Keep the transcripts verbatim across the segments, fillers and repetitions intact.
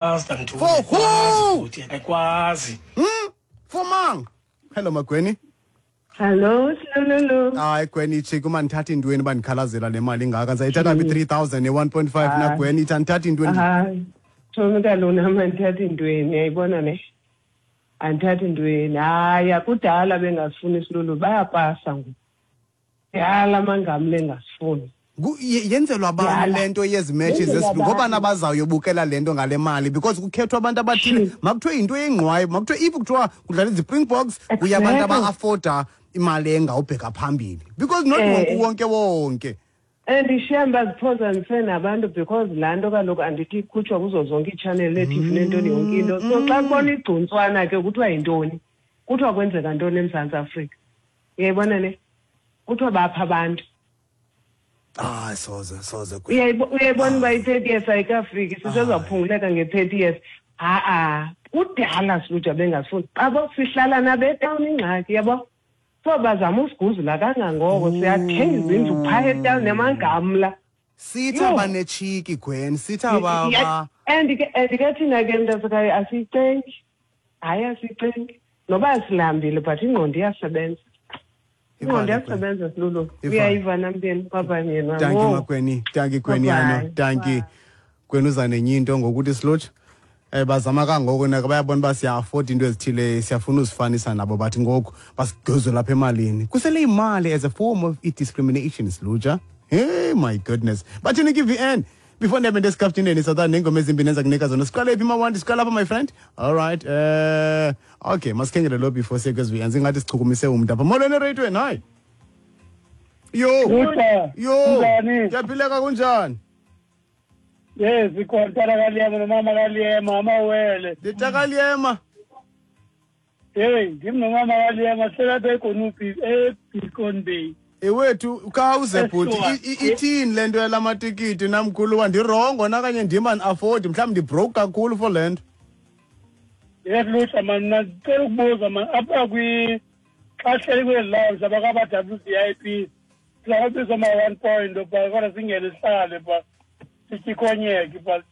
For who? Ayikwazi. Hmm? For mang. Hello Magweni. Hello Silulu. Hayi Gweni, ichiki uma ndithatha intweni uba ndikhalazela le mali ingaka. Ndizayithatha phi three thousand ne-one point five na Gweni, ithi andithatha intweni. Hayi. Thomi kaloku nam andithatha intweni, uyayibona ne? Andithatha intweni. Hayi, akudala bengasifuni Silulu, bayapasa ngoku. Yala amangamle engasifuni. Yenzelwa abantu le nto yezi matches ngoba nabazawuyobukela le nto ngale mali because kukhethwa abantu abathile. Makuthiwe yinto yengqwayi, makuthiwe if kuthiwa kudlala iziSpringboks kuya abantu aba-afforda imali engawubheka phambili because not wonke wonke wonke. And ishiya baziphozanise nabantu because laa nto kaloku andithi ikhutshwa kuzo zonke iitshaneli nee-T V neentoni yonke into. So xa kubona igcuntswana ke kuthiwa yintoni, kuthiwa kwenzeka ntoni eMzantsi Afrika. Uyayibona ne? Kuthiwa bapha abantu. Ah, soze soze. Uyayibona uba i-thirty years ayikafiki, sisezaphunguleka nge-thirty years. Ha-a, kudala siluja bengasifuni. Abo sihlala nabetawuni ingxaki, yabo. So bazama usiguzula kangangoko, siyathenga izindlu phaya etawuni nemangamla. Sithi abanetshiki Gwen, sithi aba. And ke and ke thina ke mntasekhaya asiyicengi. Hayi asiyicengi. Noba silambile but ingqondo iyasebenza. Ingqondo iyasebenza Silulu. Uyayiva namnteni baba yena. Thank you Magweni, thank you Gweni yano, thank you. Gwen uza nenye into ngokuthi Silutsha. Eh bazama kangoko nako bayabona uba siya-afford into ezithile, siyafuna uzifanisa nabo bathi ngoku basigezwe lapha emalini. Kusele imali as a form of discrimination Silutsha. Hey my goodness. Bathini ke V N? Before ndihambe ndesikhaftineni South neengoma ezimbini enza kunika zona. Siqale phi Mawandi? Siqale apha my friend. All right. Eh okay, masikhengele lo before siye kwezi V N. Singathi sichukumise umntu apha. Molweni ereyidweni, hayi. Yo. Yo. Kuyaphileka kunjani? Yes, ikhona kaLiyema nomama kaLiyema amawele. Nditaka Hey, ndim nomama kaLiyema selapha eGonubie eBeacon Bay. Ewethu khawuze bhuti ithini le nto yalamatikiti namkhulu ndirongo nakanye ndim an-afford mhlawumbi ndibroke kakhulu for le nto. Yes Lutsha man, mna ndicela ukubuza man apha kwi xa sihleli kwezi lounge abakaba-W V I P sizawubizwa ma-one point pha kodwa singene sihlale pha sityikonyeke pha.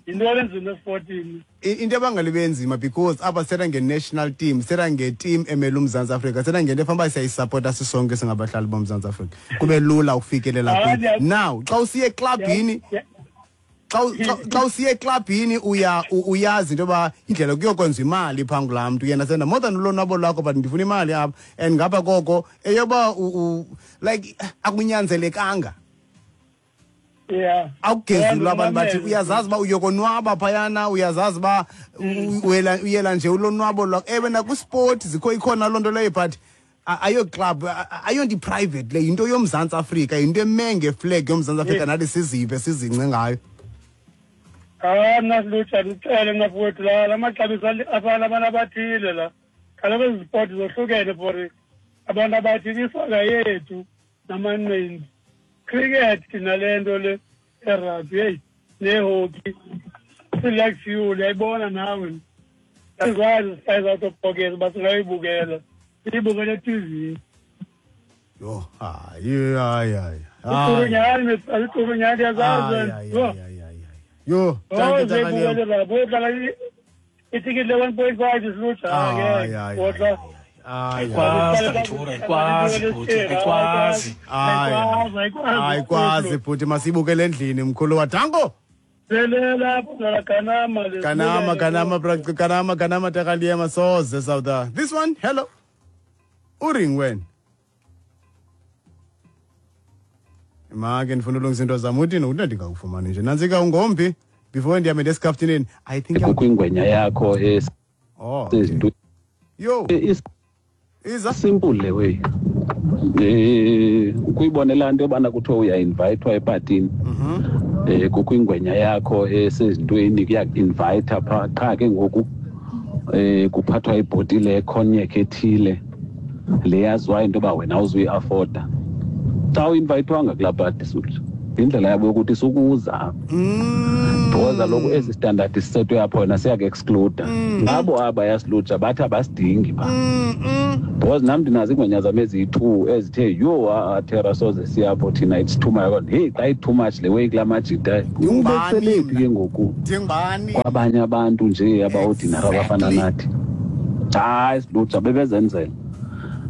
Yinto enzima esipotini. Into ebangela ibe nzima because apha sithetha nge-national team, sithetha nge-team emele uMzantsi Afrika, sithetha ngento efana uba siyayisapota sisonke singabahlali boMzantsi Afrika. Kube lula ukufikelela kuyo. Now, xa usiya eklabhini, xa xa usiya eklabhini uya uyazi into yoba indlela kuyokwenza imali phaa kulaa mntu. Yena senda more than ulonwabo lwakho but ndifuna imali apha. And ngapha koko eyoba like akunyanzelekanga. Yeah. Awugezulu abantu bathi uyazazi uba uyokonwaba phayana, uyazazi uba uyela nje ulonwabo lwakho. Ewe nakwisport zikho ikhona loo nto leyo but ayo club ayonto i-private le, yinto yoMzantsi Afrika, yinto eme ngeflag yoMzantsi Afrika nathi sizive sizince ngayo. Hayi mna Silutsha ndicele mna mfowethu la la maxabiso afana abantu abathile la. Kaloku ezi zipoti zohlukene for abantu abathile, isaka yethu namanqindi. Cricket nale nto le erugby, hey, nehockey, select fuel, uyayibona nawe. Asikwazi size out of pocket uba singayibukela. Siyibukele e-T V. Yho, hayi hayi hayi. Icurunyani, icurunyani uyazazi. Yho, thank you. Itikiti le-one point five Silutsha ke. Kodwa ayikwazi ayikwazi bhuti, ayikwazi. Ayikwazi bhuti, masibukele endlini mkhulu wa Danko. Kanama Kanama kanama kanama kanama takaliyema soze South. This one, hello. Uring when? Make ndifuna ulungisa into zam uthini uthi ndingakufumani nje. Nantsika ungompi before ndihambe ndesikhaftineni. I think kukho ingwenya yakho es. Oh. Yo. Iza simple le way. Eh ukuyibonela into yobana kuthiwa uya-invitwa epatini. Mhm. Eh kukho ingwenya yakho esezintweni kuya-invite pha qha ke ngoku eh kuphathwa ibhotile ecognac ethile le yaziwayo into yoba wena awuzuyi-afforda. Xa uinvitwanga kulaa party Suthu, indlela yabo yokuthi sukuza. Mm. Because kaloku esi standard sisetwe apho wena siyaku-excluda. Ngabo aba yasilutsha bathi abasidingi phaa. Because nam ndinazo iingwenya zam eziyi-two ezithe yho ha-a Terra soze siyapho thina, it's too much. Heyi, xa i-too much le way kulaa majita, ubeselephi ke ngoku Ndingubani? kwabanye abantu nje aba-ordinary abafana nathi. Hayi, silutsha bebezenzela,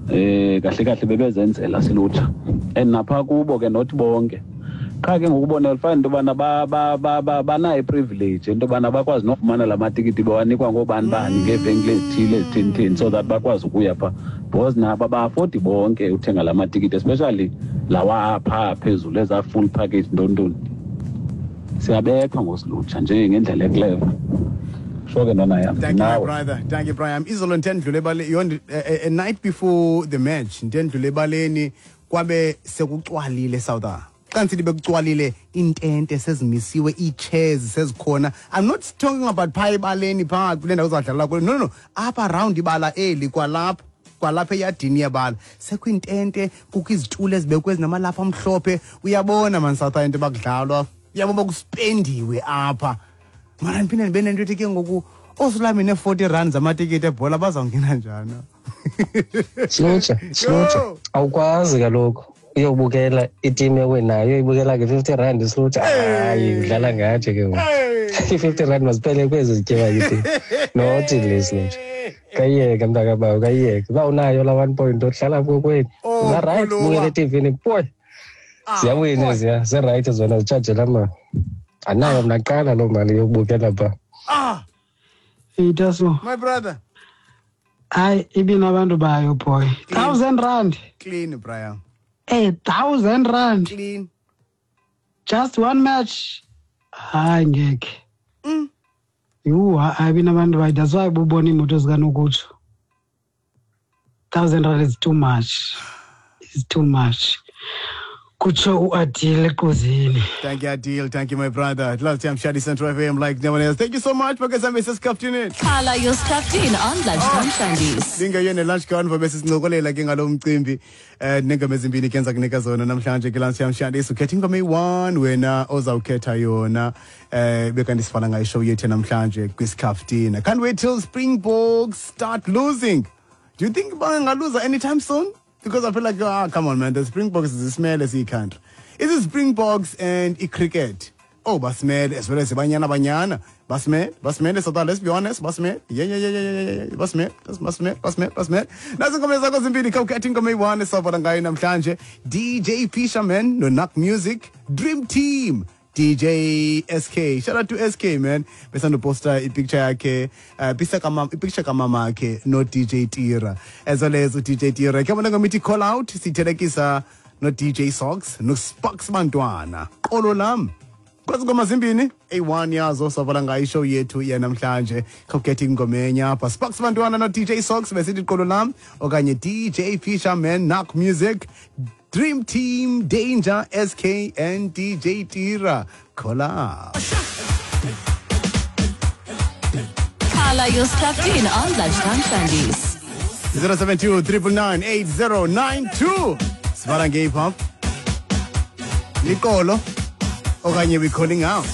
eh kahle kahle bebezenzela silutsha, and napha kubo ke not bonke. Qha ke ngokubona ulifana into yobana ba- ba- ba- ba- banayo i-privilege into yobana bakwazi nofumana la matikiti bewanikwa ngoobani bani ngeevenkile ezithile ezitheni so that bakwazi ukuya phaa, because nabo aba-affordi bonke uthenga la matikiti, especially lawa apha phezulu, ezaa full package ntontoni. Siyabethwa ngosilutsha nje ngendlela e-clever. Sho ke ntwana yam. Thank you, my Nawe. brother. Thank you, Brian. Izolo ndendlule ebale yondi a, a night before the match, ndendlule ebaleni kwabe sekucwalile South. Xa ndisithi bekucwalile, iintente sezimisiwe, ii-chairs sezikhona. I'm not talking about phaa ebaleni phaa kule ndawo uzadlalela kuyo. No, no, no. Apha around ibala eli, kwalapha kwalapha eyadini yebala sekho iintente, kukho izitulo ezibekwe ezinamalapha amhlophe. Uyabona man South into bakudlalwa, uyabona uba kuspendiwe apha. Mara ndiphinde ndibe nento ethi ke ngoku oosulami nee-forty rand zamatikiti ebhola bazawungena njani? Silutsha, silutsha. Yo! Awukwazi kaloku uyobukela itimu ewinayo uyoyibukela nge-fifty rand, silutsha. Hayi, udlala ngathi ke ngoku. I-fifty rand masiphele kwezi zityiwa yitimu, not le, silutsha. Kayiyeke mntakabawo, kayiyeke. Uba unayo la one point ohlala kokwenu. Oh, Ungarayithi Khuluma. ubukela etivini, boy. Ziyawina eziya, zirayithi zona, zitshajela mali. Anayo mna kuqala loo mali yokubukela phaa. Ah, Itaso, my brother. Hayi, ibinabantu bayo boy. Thousand rand. Clean, Brian. A thousand rand. Clean. Just one match. Hayi, ngeke. Yhu, hayi, ibinabantu bayo. That's why bubona iimoto zikanokutsho. Thousand rand is too much. It's too much. Kutsho uAdile eQuzini. Thank you, Adil. Thank you, my brother. Love Time Shadi Central F M like no one else. Thank you so much. Because I'm Missus Kaftini. Khala your Skhaftin on Lunchtime Shandies. Ndingeyona lunch convo, besisincokolela ke ngalo mcimbi eh nengoma ezimbini ke enza kunika zona namhlanje ke lunch time Shandies. Ukhetha ingoma eyi-one wena ozawukhetha yona eh bekanti sifana ngayo show yethu namhlanje kwiSkhaftina. Can't wait till Springboks start losing. Do you think bangaluza anytime soon? Because I feel like, ah, come on, man, the Springboks is smell as country. Is it Springboks and i-cricket? Oh, basimele as well as Banyana Banyana. Basimele, basimele, so that, let's be honest, basimele. Yeah, yeah, yeah, yeah, yeah, yeah, basimele, basimele, basimele, basimele. Nazo ingoma zakho zimbini, khawukhethe ingoma eyi-one esawubona ngayo namhlanje. D J Fisherman no Nak Music, Dream Team. D J S K. Shout out to S K, man. Besando posta i-picture yakhe, uh, picture kamama, i-picture kamama yakhe no D J Tira. As well as D J Tira. Ke bona ngomithi call out sithelekisa no D J Socks no Sparks Bantwana. Qolo lam. Kwazi ngoma zimbini eyi-one yazo savala ngayo ishow yethu yanamhlanje. Khawukhethe ingoma enye apha. Sparks Bantwana no D J Socks besithi qolo lam okanye D J Fisherman, Nak Music, Dream Team, Danger S K and D J Tira. Call out. Khala your Skhaftin on Lunchtime Shandies. zero seven two nine nine nine eight zero nine two. Sivala nge-hip hop. Liqolo okanye we calling out.